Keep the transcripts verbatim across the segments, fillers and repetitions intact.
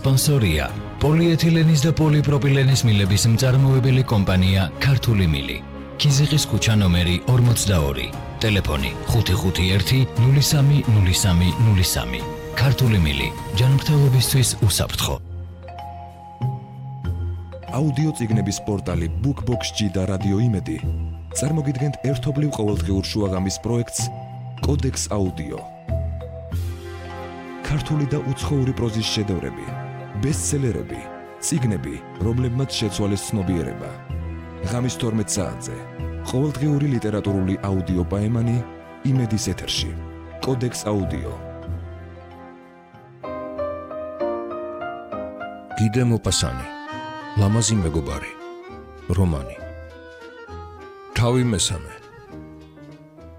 სპონსორია პოლიეთილენის და პოლიპროპილენის მილების მწარმოებელი კომპანია ქართული მილი. ქიზიყის ქუჩა ნომერი ორმოცდაორი. ტელეფონი ხუთი ხუთი ერთი ნული სამი ნული სამი ნული სამი. ქართული მილი ჯანმრთელობისთვის უსაფრთხო. აუდიო წიგნების პორტალი BookBox-ში და რადიო იმედი წარმოგიდგენთ ერთობლივ ყოველდღიურ შუაღამის პროექტს კოდექს აუდიო. ქართული და უცხოური პროზის შედევრები, ბესტსელერები, წიგნები, რომლებმაც შეცვალეს ცნობიერება. ღამის თორმეტ საათზე ყოველდღიური ლიტერატურული აუდიო პაემანი იმედის ეთერში. კოდექს აუდიო. გიდე მოპასანი, ლამაზი მეგობარი, რომანი. თავი მესამე.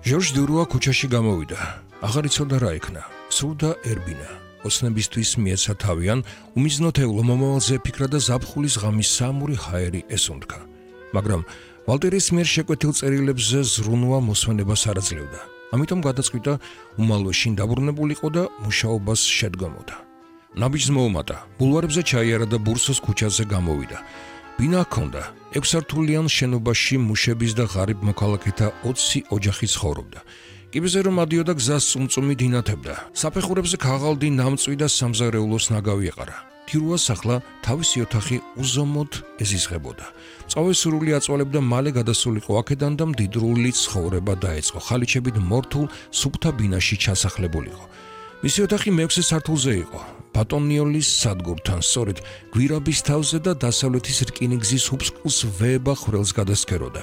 ჟორჟ დურუა ქუჩაში გამოვიდა. აღარ იცოდა რა იქნა. სურდა ერბინა. ოცნებისთვის მიეცა თავიან, უმიზნოთეულო მომავალზე ფიქრა და ზაფხულის ღამის საამური ჰაერი ესუნთქა. მაგრამ ვალტერის მიერ შეკვეთილ წერილებზე ზრუნვა მოსვენებას არ აძლევდა. ამიტომ გადაწყვიტა უმალვე შინ დაბრუნებულიყო და მუშაობას შედგამოდა. ნაბიჯს მოუმატა, ბულვარებზე ჩაიარა და ბურსოს ქუჩაზე გამოვიდა. ბინა ჰქონდა, ექვსსართულიან შენობაში მუშების და ღარიბ მოქალაქეთა ოცი ოჯახი ცხოვრობდა. კიბეზე რომ ადიოდა გზას წუმწუმით ინათებდა. საფეხურებზე ქაღალდი ნამწვი და სამზარეულოს ნაგავი ეყარა. თირუას ახლა თავისი ოთახი უზომოდ ეზიზღებოდა. მწვავე სურვილი აწვალებდა მალე გადასულიყო აქედან და მდიდრული ცხოვრება დაეწყო. ხალიჩებით მორთულ სუფთა ბინაში ჩასახლებულიყო. მისი ოთახი მეექვსე სართულზე იყო. ბატონიოლის სადგურთან, სწორედ გვირაბის თავზე და დასავლეთის რკინიგზის უბსკულს ვეება ხვრელს გადასქეროდა.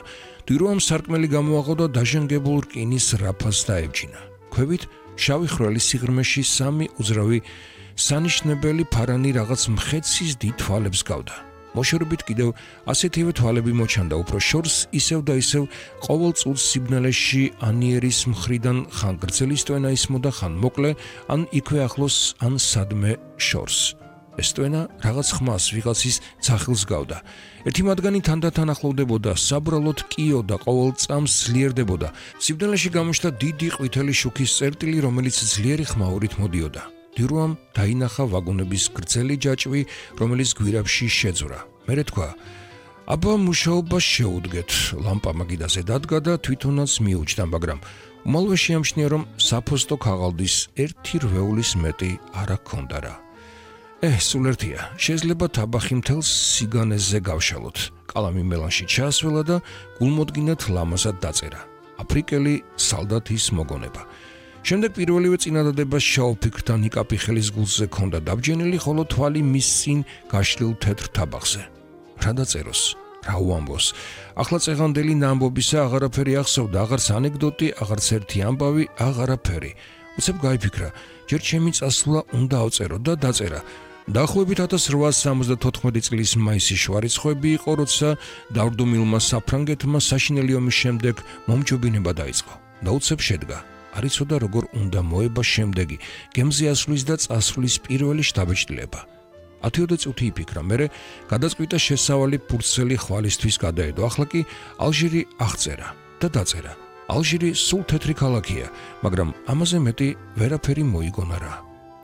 დირუამ სარკმელი გამოაღო და დაჟანგებულ რკინის რაფას დაებჯინა. ქვევით შავი ხვრელის სიღრმეში სამი უძრავი სანიშნებელი ფარანი რაღაც მხეცის დიდ თვალებს გავდა. მოშორებით კიდევ ასეთივე თვალები მოჩანდა, უფრო შორს ისევ და ისევ ყოველ წუთს სიბნელეში ანიერის მხრიდან ხან გრძელი სტვენა ისმოდა, ხან მოკლე, ან იქვე ახლოს, ან სადმე შორს. ეს სტვენა რაღაც ხმას, ვიღაცის ძახილს გავდა. ერთი მათგანი თანდათან ახლოვდებოდა, საბრალოდ კიოდა, ყოველ წამს ძლიერდებოდა. სიბნელეში გამოჩნდა დიდი ყვითელი შუქის წერტილი, რომელიც ძლიერი ხმაურით მოდიოდა. დირუამ დაინახა ვაგონების გრძელი ჯაჭვი, რომელიც გვირაბში შეძვრა. მერე თქვა: აბა მუშაობა შეუდგეთ. ლამპა მაგიდაზე დადგა და თვითონაც მიუჯდა, მაგრამ უმალვე შეამჩნია, რომ საფოსტო ქაღალდის ერთი რვეულის მეტი არ ჰქონდა რა. ე, სულ ერთია. შეიძლება თაბახი მთელს სიგანეზე გავშალოთ. კალამი მელანში ჩაასველა და გულმოდგინედ ლამაზად დაწერა. აფრიკელი სალდათის მოგონება. შემდეგ პირველივე წინადადებას შავ ფიქრთან იკაპი ხელის გულზე ქონდა დაბჯენილი, ხოლო თვალი მის წინ გაშლილ თეთრ თაბახზე. რა დაწეროს, რა უამბოს. ახლა წეღანდელი ნამბობისა აღარაფერი ახსოვდა, აღარც ანეკდოტი, აღარც ერთი ამბავი, აღარაფერი. უცებ გაიფიქრა, ჯერ ჩემი წასვლა უნდა ავწერო და დაწერა. დაახლოებით ათას რვაასი სამოცდათოთხმეტი წლის მაისის შვარიცხვები იყო, როცა დავრდომილმა საფრანგეთმა საშინელი ომის შემდეგ მომჯობინება დაიწყო. და უცებ შედგა. არ იცოდა როგორ უნდა მოება შემდეგი, გემზე ასვლის და წასვლის პირველი შთაბეჭდილება. ათიოდე წუთი იფიქრა, მერე გადაწყვიტა შესავალი ფურცელი ხვალისთვის გადაედო. ახლა კი ალჟირი აღწერა და დაწერა. ალჟირი სულ თეთრი ქალაქია, მაგრამ ამაზე მეტი ვერაფერი მოიგონა რა.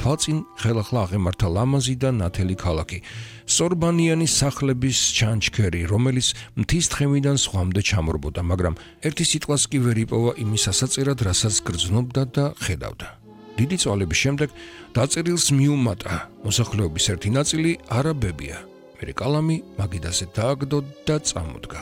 თვალწინ ხელახლა აღემართა ლამაზი და ნათელი ქალაქი, სორბანიანი სახლების ჩანჩქერი, რომელიც მთის თხემიდან სხვამდე ჩამორბოდა, მაგრამ ერთი სიტყვას კი ვერ იპოვა იმის ასაწერად, რასაც გრძნობდა და ხედავდა. დიდი წვალების შემდეგ დაწერილს მიუმატა. მოსახლეობის ერთი ნაწილი არაბებია. მერე კალამი მაგიდაზე დააგდო და წამოდგა.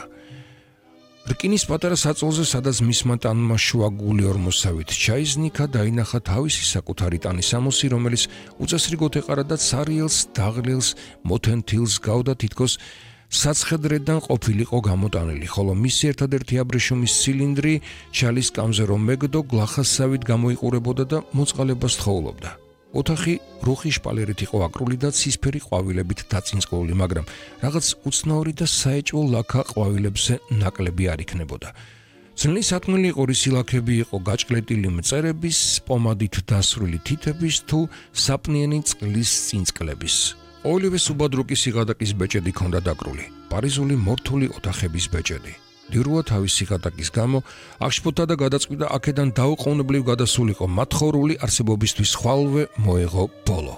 რკინის პატარა საწოლზე, სადაც მისმა ტანმა შუაგული ორმოსავით ჩაიზნიქა, დაინახა თავისი საკუთარი ტანის ამოსი, რომელიც უწესრიგოდ ეყარა და ცარიელს, დაღლილს, მოთენთილს გავდა, თითქოს საცხედრედან ყოფილიყო გამოტანილი, ხოლო მისი ერთადერთი აბრეშუმის ცილინდრი ჩალის კამზე რომ მეგდო, გლახასავით გამოიყურებოდა და მოწყალებას თხოვლობდა. ოთახი რუხი შპალერით იყო აკრული და ცისფერი ყვავილებით დაწინწკლული, მაგრამ რაღაც უცნაური და საეჭვო ლაქა ყვავილებზე ნაკლები არ იქნებოდა. ძნელი სათმელი ყორისი ლაქები იყო გაჭყლეტილი მწერების, პომადით დასრული თითების თუ საპნიანი წყლის წინწკლების. ყოველივე სუბადრუკის სიღატაკის ბეჭედი ჰქონდა დაკრული, პარიზული მორთული ოთახების ბეჭედი. დირუა თავის სიღატაკის გამო აღშფოთა და გადაწყვიტა აქედან დაუყოვნებლივ გადასულიყო, მათხოვრული არსებობისთვის ხვალვე მოეღო ბოლო.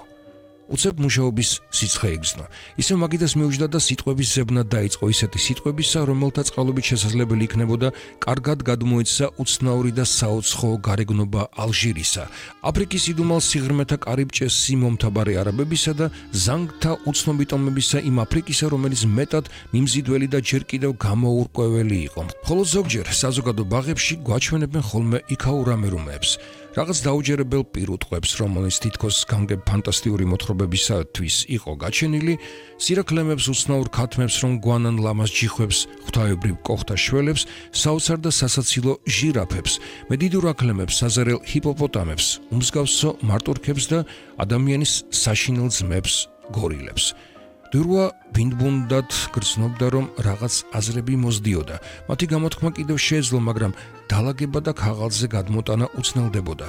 უცებ მუშაობის სიცხე იგრძნო. ისევ მაგიდას მიუჯდა და სიტყვების ზებნა დაიწყო ისეთი სიტყვებისა, რომელთა წყალობით შესაძლებელი იქნებოდა კარგად გადმოეცვა უცნაური და საოცხო გარეგნობა ალჟირისა, აფრიკის იდუმალ სიღრმეთა კარიბჭეს სიმომთაბარე არაბებისა და ზანგთა უცნობი ტომებისა იმ აფრიკისა, რომელიც მეტად მიმზიდველი და ჯერ კიდევ გამოურკვეველი იყო. ხოლო ზოგჯერ საზოგადო ბაღებში გვაჩვენებენ ხოლმე იქაურ ამერუმეებს, რაღაც დაუჯერებელ პირუტყვებს, რომელიც თითქოს გამგებ ფანტასტიკური მოთხრობებისათვის იყო გაჩენილი, სირაქლემებს, უცნაურ ქათმებს, რომ გვანან ლამაზ ჯიხვებს, ღვთაებრივ კოხთა შველებს, საოცარ და სასაცილო ჟირაფებს, მედიდურ აქლემებს, საზარელ ჰიპოპოტამებს, უმსგავსო მარტურქებს და ადამიანის საშინელ ძმებს, გორილებს. დურვა ბინდბუნდად გრძნობდა, რომ რაღაც აზრები მოსდიოდა. მათი გამოთქმა კიდევ შეეძლო, მაგრამ დალაგება და ქაღალდზე გადმოტანა უცნელდებოდა.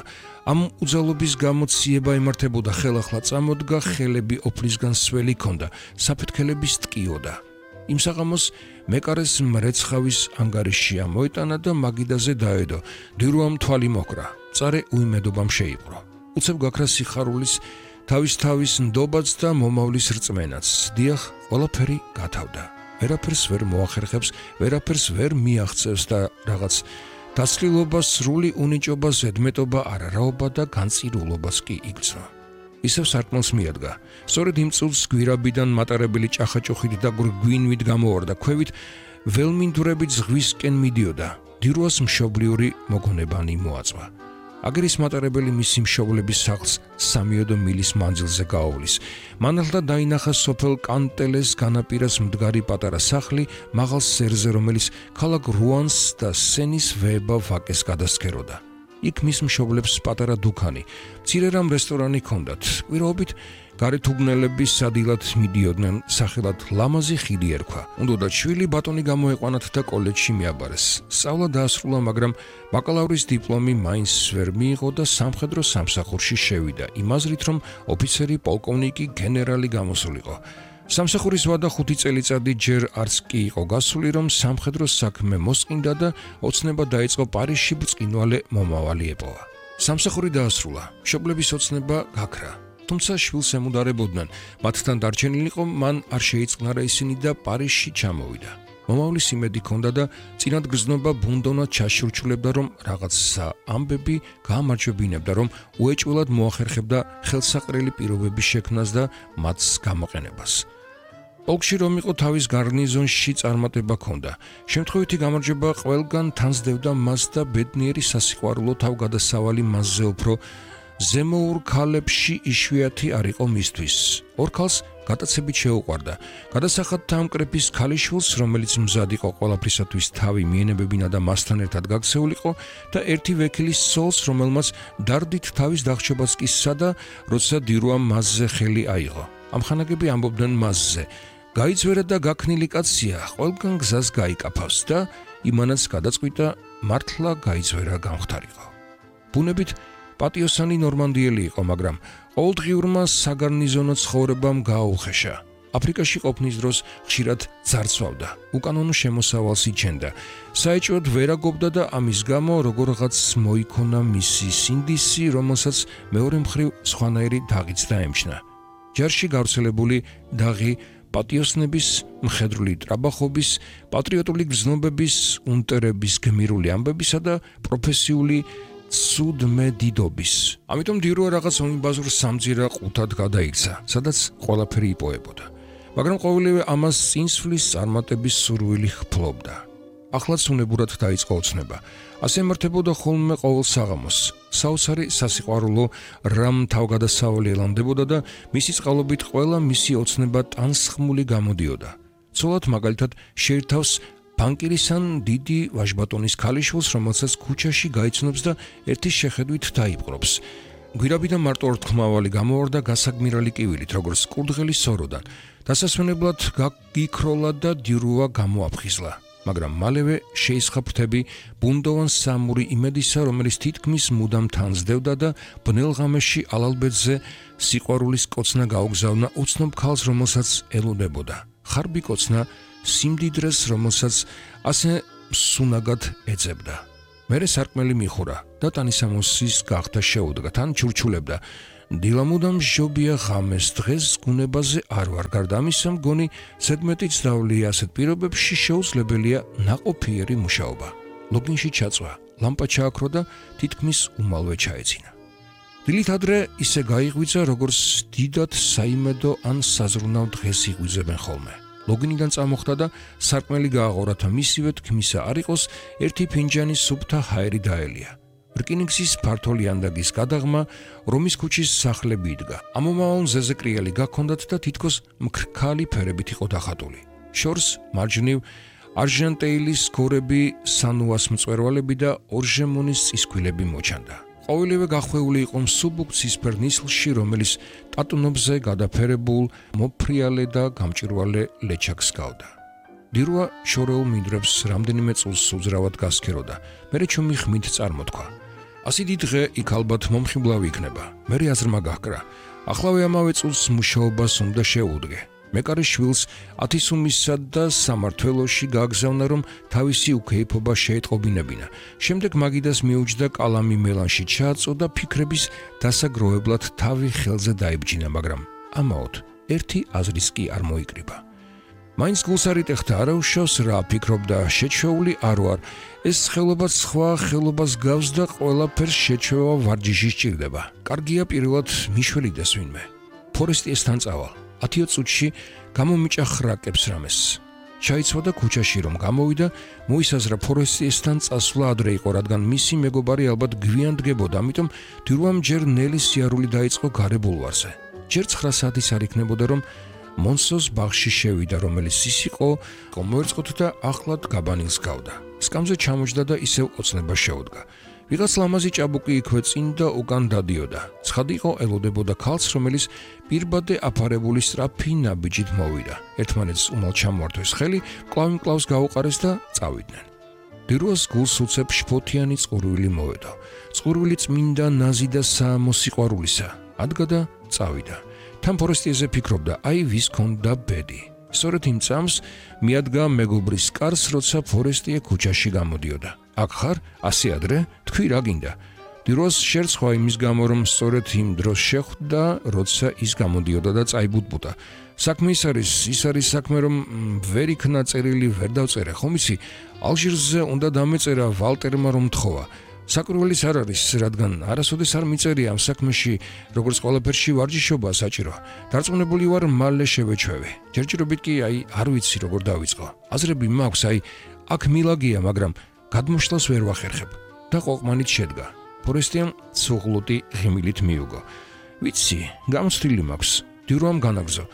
ამ უძალობის გამო ციება ემართებოდა, ხელახლა წამოდგა, ხელები ოფლისგან სველი ჰქონდა, საფეთქელების ტკიოდა. იმ საღამოს მეკარეს მრეცხავის ანგარიში ამოიტანა და მაგიდაზე დაედო. დურვამ თვალი მოკრა, წარე უიმედობამ შეიპყრო. უცებ გაქრა სიხარულის თავის-თავის ნდობაც და მომავლის რწმენაც. დიახ, ყველაფერი გათავდა. ვერაფერს ვერ მოახერხებს, ვერაფერს ვერ მიაღწევს და რაღაც დაცლილობა, სრული უნიჭობა, ზედმეტობა, არარაობა და განწირულობას კი იგრძნო. ისევ სარკმელს მიადგა. სწორედ იმ წუთს გვირაბიდან მატარებელი ჭახაჭუხით და გვინვით გამოვარდა, ქვევით ველმინდვრებით ზღვისკენ მიდიოდა. დირუას მშობლიური მოგონებანი მოაწვა. აგერის მატარებელი მისი მშობლების სახლს სამიოდო მილის მანძილზე გაავლის. მანახლა დაინახა სოფელ კანტელეს განაპირას მდგარი პატარა სახლი მაღალ სერზე, რომელიც ქალაქ რუანს და სენის ვეება ვაკეს გადასცქეროდა. იქ მის მშობლებს პატარა დუქანი, მცირე რამ რესტორანი ჰქონდათ. კვირაობით გარეთუბნელები სადილად მიდიოდნენ, სახელად ლამაზი ხიდი ერქვა. უნდოდათ შვილი ბატონი გამოეყვანათ და კოლეჯში მიაბარეს. სწავლა დაასრულა, მაგრამ ბაკალავრის დიპლომი მაინც ვერ მიიღო და სამხედრო სამსახურში შევიდა, იმ აზრით, რომ ოფიცერი, პოლკოვნიკი, გენერალი გამოსულიყო. სამსახურის ვადა ხუთი წელიწადი ჯერ არც კი იყო გასული, რომ სამხედრო საქმე მოსყინდა და ოცნება დაიწყო პარიზში ბრწყინვალე მომავალი ეპოვა. სამსახური დაასრულა, მშობლების ოცნება გაქრა. თუმცა შვილს ემუდარებოდნენ, მათთან დარჩენილი იყო, მან არ შეიწყნარა ისინი და პარიზში ჩამოვიდა. მომავლის იმედი ჰქონდა და წინად გრძნობა ბუნდოვნად ჩაშურჩულებდა, რომ რაღაცა ამბები გაამარჯვებინებდა, რომ უეჭველად მოახერხებდა ხელსაყრელი პირობების შექმნას და მათს გამოყენებას. პოლკში რომ იყო თავის გარნიზონში წარმატება ჰქონდა. შემთხვევითი გამარჯვება ყველგან თანსდევდა მას და ბედნიერი სასიყვარულო თავგადასავალი მასზე უფრო ზემოურ ქალებში იშვიათი არ იყო მისთვის. ორ ქალს გადაცებით შეუყვარდა. გადასახად თამკრეფის ქალიშვილს, რომელიც მზად იყო ყველაფრისათვის თავი მიენებებინა და მასთან ერთად გაქცეულიყო და ერთი ვექილის სოლს, რომელმაც დარდით თავის დახშობაც კი სცადა, როცა დირუამ მასზე ხელი აიღო. ამხანაგები ამბობდნენ მასზე. გაიწვერა და გაქნილი კაცია, ყველგან გზას გაიკაფავს და იმანაც გადაწყვიტა მართლა გაიწვერა გამختارიყო. ბუნებით პატიოსანი ნორმანდიელი იყო, მაგრამ ყოველდღიურმა საგარნიზონო ცხოვრებამ გააუხეშა. აფრიკაში ყოფნის დროს ხშირად ძარცვავდა, უკანონო შემოსავალს იჩენდა. საეჭვოდ ვერაგობდა და ამის გამო როგორღაც მოიქონა მისი სინდისი, რომელსაც მეორე მხრივ სხვანაირი დაღიც დაემჩნა. ჯარში გავრცელებული დაღი პატიოსნების, მხედრული ტრაბახობის, პატრიოტული გრძნობების, უნტერების გმირული ამბებისა და პროფესიული ცუდმედიდობის. ამიტომ დირუა რაღაც უნიბაზურ სამძირა ყუთად გადაიქცა, სადაც ყველაფერი იპოებოდა. მაგრამ ყოველივე ამას წინსვლის წარმატების სურვილი ჰფლობდა. ახლაც უნებურად დაიწყო ოცნება. ასე ემართებოდა ხოლმე ყოველ საღამოს. საოცარი სასიყვარულო რამ თავგადასავალი ელამდებოდა და მისი წყალობით ყველა მისი ოცნება ტანსხმული გამოდიოდა. ცოლად მაგალითად შეირთავს ბანკირისან დიდი ვაჟბატონის ქალიშვილს, რომელსაც ქუჩაში გაიცნობს და ერთის შეხედვით დაიპყრობს. გვირაბიდან მარტო ორთქმავალი გამოვარდა გასაგმირალი კივილით, როგორც კურდღელი სოროდან. დასასვენებლად გიქროლა და დირუა გამოაფხიზლა. მაგრამ მალევე შეისხა ფრთები ბუნდოვან სამური იმედისა, რომელიც თითქმის მუდამ თანსდევდა და ბნელ ღამეში ალალბედზე სიყვარულის კოცნა გაუგზავნა უცნობ ქალს, რომელსაც ელოდებოდა. ხარბი კოცნა სიმდიდრეს, რომელსაც ასე სუნაგად ეძებდა. მერე სარკმელი მიხურა და ტანისამოსის გახდა შეუდგა, თან ჩურჩულებდა. დილამუდამ მჟობია ღამეს დღეს გუნებაზე არ ვარ, გარდა ამისა მგონი ზედმეტი ძდავლია, ასეთ პირობებში შეუძლებელია ნაყოფიერი მუშაობა. ლოგინში ჩაწვა, ლამპა ჩააქრო და თითქმის უმალვე ჩაეცინა. დილით ადრე ისე გაიღვიძა, როგორც დიდად საიმედო ან საზრუნავ დღეს იღვიძებენ ხოლმე. ლოგინიდან წამოხდა და სარკმელი გააღორა, მისივე თქმისა არ იყოს, ერთი ფინჯანი სუფთა ჰაერი დაელია. რკინიგზის ფართო ლიანდაგის გადაღმა რომის ქუჩის სახლები იდგა. ამომავალ მზეზე კრიალი გაქონდათ და თითქოს მქრქალი ფერებით იყო დახატული. შორს მარჯვნივ არჟანტეილის გორები, სანუას მწვერვალები და ორჟემონის წისქვილები მოჩანდა. ყოველივე გახვეული იყო მსუბუქ ცისფერ ნისლში, რომელიც ტატუნობზე გადაფერებულ მოფრიალე და გამჭვირვალე ლეჩაკს გავდა. დირვა შორეულ მინდვრებს რამდენიმე წუთს უძრავად გასქეროდა. მერე ჩუმი ხმით წარმოთქვა. ასეთი დღე იქ ალბათ მომხიბლავი იქნება. მერე აზრმა გაჰკრა. ახლავე ამავე წუთს მუშაობას უნდა შეუდგე. მეკარე შვილს ათისუმისა და სამართველოში გააგზავნა, რომ თავისი უქეიფობა შეეტყობინებინა. შემდეგ მაგიდას მიუჯდა კალამი მელანში ჩააწო და ფიქრების დასაგროვებლად თავი ხელზე დაიბჯინა, მაგრამ ამაოდ ერთი აზრის კი არ მოიკრიბა. მაინც გულს არ იტეხდა, არა უშავს რა ფიქრობდა, შეჩვეული არ ვარ. ეს ხელობა სხვა ხელობას გავს და ყველაფერს შეჩვევა ვარჯიში სჭირდება. კარგია პირველად მიშველიდეს ვინმე. ფორესტიესთან წავალ. ათიო წუთში გამომიჭა ხრაკებს რამეს. ჩაიცვა და ქუჩაში რომ გამოვიდა, მოისაზრა ფორესტიესთან წასვლა ადრე იყო, რადგან მისი მეგობარი ალბათ გვიან დგებოდა, ამიტომ დირვამ ჯერ ნელი სიარული დაიწყო გარე ბულვარზე. ჯერ ცხრა საათის არ იქნებოდა, რომ მონსოს ბაღში შევიდა, რომელიც ის იყო, კომოერწყოთ და ახლად გაბანილს გავდა. სკამზე ჩამოჯდა და ისევ ოცნება შეუდგა. ვიღაც ლამაზი ჭაბუკი იქვე წინ და უკან დადიოდა. ცხადი იყო ელოდებოდა ქალს, რომელიც პირბადე აფარებული სწრაფი ნაბიჯით მოვიდა. ერთმანეთს უმალ ჩამოართვეს ხელი, კლავი-კლავს გაუყარეს და წავიდნენ. დირვას გულს უცებ შფოთიანი წყურვილი მოვედო. წყურვილი წმინდა ნაზი და საამოსიყვარულისა. ადგა და წავიდა. თან ფორესტიეზე ფიქრობდა, აი ვის ქონდა ბედი. სწორედ იმ წამს მიადგა მეგობრის კარს, როცა ფორესტიე ქუჩაში გამოდიოდა. აქ ხარ, ასე ადრე, თქვი რა გინდა? დირვას შერცხვა იმის გამო, რომ სწორედ იმ დროს შეხვდა, როცა ის გამოდიოდა და წაიბუტბუტა. საქმე ის არის, ის არის საქმე, რომ ვერ იქნა წერილი, ვერ დავწერე, ხომ იცი? ალჟირზე უნდა დამეწერა ვალტერმა რომ თხოვა. საკურველის არ არის, რადგან არასოდეს არ მიწერია ამ საქმეში, როგორც ყველაფერში ვარჯიშობა საჭიროა. დარწმუნებული ვარ, მალე შევეჩვევი. ჯერჯერობით კი აი არ ვიცი როგორ დავიწყო. აზრები მაქვს, აი აქ მილაგია, მაგრამ გადმოშლას ვერ ვახერხებ. და ყოყმანით შედგა. ფორესტიამ ცუღლუტი ღიმილით მიუგო. ვიცი, გამოცდილი მაქვს. დირვამ განაგზო.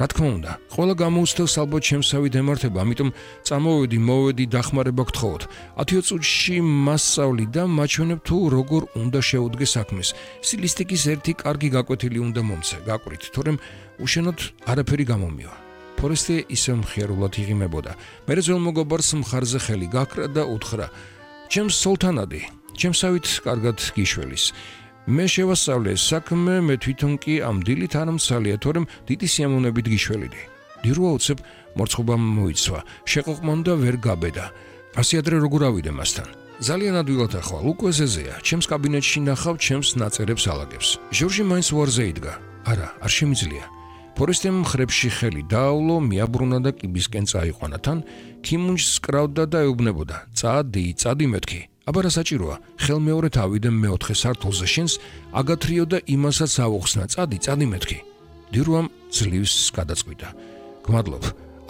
რა თქმა უნდა, ყველა გამოუცდელს ალბათ შემსავი დემართება, ამიტომ წამოვედი, მოვედი, დახმარება გთხოვოთ. ათიო წუთში მასწავლი და მაჩვენებ თუ როგორ უნდა შეუდგე საქმეს. სტილისტიკის ერთი კარგი გაკვეთილი უნდა მომცე, გაკვირით, თორემ უშენოდ არაფერი გამომივა. ფორესტი ისე მხიარულად იღიმებოდა. მერე ძველ მეგობარს მხარზე ხელი გაქრა და უთხრა: ჩემს სულთანადი, ჩემსავით კარგად გიშველის. მე შევასწავლე საქმე, მე თვითონ კი ამ დილით არ მცალია, თორემ დიდი სიამოვნებით გიშველიდი. დირვა უცებ მორცხობამ მოიცვა, შეყოყმან და ვერ გაბედა. ასე ადრე როგორ ავიდე მასთან? ძალიან ადვილად ახვალ, უკვე ზეზეა. ჩემს კაბინეტში ნახავ, ჩემს ნაწერებს ალაგებს. ჟორჟი მაინც უარზე იდგა. არა, არ შემიძლია. ფორესტემ ხრებში ხელი დაავლო, მიაბრუნა და კიბისკენ წაიყვანა. თან ქიმუნჯს კრავდა და ეუბნებოდა: წადი, წადი მეთქი. აბა რა საჭიროა? ხელმეორედ ავიდე მეოთხე სართულზე, შენს აგათრიო და იმასაც ავუხსნა. წადი, წადი მეთქი. დირვამ ძლივს გადაწყვიტა. გმადლობ.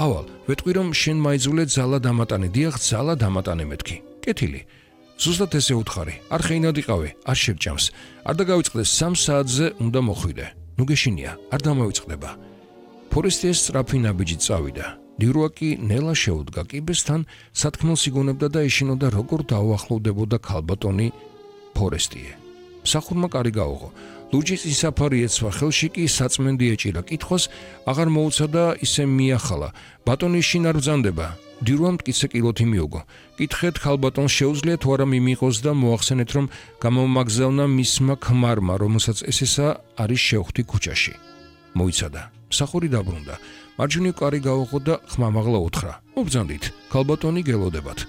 ავალ, ვეტყვი რომ შენ მაიძულე ძალა დამატანე, დიახ, ძალა დამატანე მეთქი. კეთილი. ზუსტად ესე უთხარი. არ ხეინად იყავე, არ შევჭამს. არ დაგავიწყდეს სამ საათზე უნდა მოხვიდე. ნუ გეშინია, არ დამოვიწყდება. ფორესტიეს სწრაფი ნაბიჯი წავიდა. დირვა კი ნელა შეუდგა კიბესთან, სათქმელს იგონებდა და ეშინოდა როგორ დაუახლოვდებოდა ქალბატონი ფორესტიე. მსახურმა კარი გაუღო. ლურჯის ისაფარი ეცვა, ხელში კი საწმენდი ეჭირა. კითხვას აღარ მოუცა და ისე მიახალა. ბატონი შინ არ ბრძანდება. დირვამ მტკიცე კილოთი მიუგო. კითხეთ ქალბატონს შეუძლია თუ არა მიმიყოს და მოახსენეთ, რომ გამომაგზავნა მისმა ქმარმა, რომელსაც ესესა არის შევხვდი ქუჩაში. მოიცადა. მსახური დაბრუნდა. მარჯვნივ კარი გაუღო და ხმამაღლა უთხრა: მობრძანდით, ქალბატონი გელოდებათ.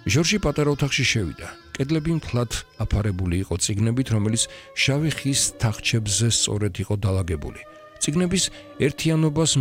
ჟორჟი პატარა ოთახში შევიდა. კედლები მთლად აფარებული იყო წიგნებით, რომელიც შავი ხის თახჩებზე სწორედ იყო დალაგებული. წიგნების ერთიანობას